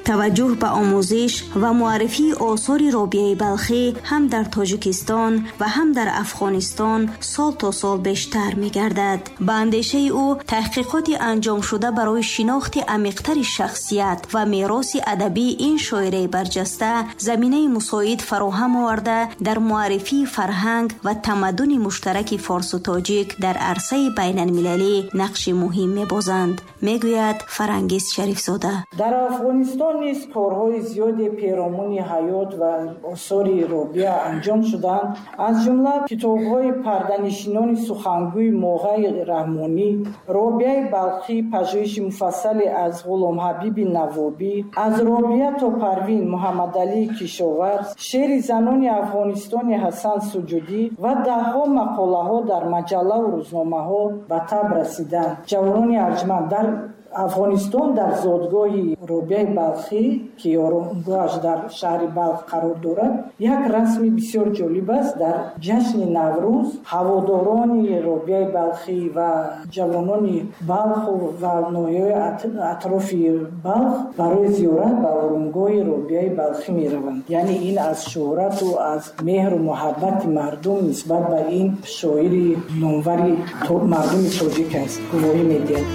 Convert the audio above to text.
Таваҷҷӯҳ ба омӯзиш ва муаррифии осори Робиаи Балхӣ ҳам дар Тоҷикистон ва ҳам дар Афғонистон сол то сол бештар мегардад. Ба андешаи ӯ, таҳқиқоти анҷомшуда барои шинохти амиқтари шахсият ва мероси адабии ин шоираи барҷаста заминаи мусоид фароҳам оварда, дар муаррифии фарҳанг ва тамаддуни муштараки форсу тоҷик дар арсаи байналмилалӣ нақши муҳим мебозанд, мегӯяд Фарангиз Шарифзода. Дар Афғонистон низ корҳои зиёде перомуни ҳаёт ва осори Робиа анҷом шуданд. Аз ҷумла китобҳои парданишинони сухангӯи Моғаи Раҳмонӣ, Робиаи Балхӣ, пажӯҳиши муфассале аз Ғуломҳабиби Навобӣ, аз Робиа то Парвин Муҳаммадалии Кишоварз, шеъри занони Афғонистони Ҳасан Суҷудӣ ва даҳҳо мақолаҳо дар маҷаллаву рӯзномаҳо ба таб расиданд. Ҷавонони арҷманд, дар Афғонистон, дар зодгоҳи Робиаи Балхӣ, ки оромгоҳаш дар шаҳри Балх қарор дорад, як расми бисёр ҷолиб аст. Дар ҷашни Наврӯз ҳаводорони Робиаи Балхӣ ва ҷавонони Балху ва ноҳияҳои атрофи Балх барои зиёрат ба оромгоҳи Робиаи Балхӣ мераванд. Яъне ин аз шӯҳрату аз меҳру муҳаббати мардум нисбат ба ин шоири номвари мардуми тоҷик аст, гувоҳӣ медиҳад.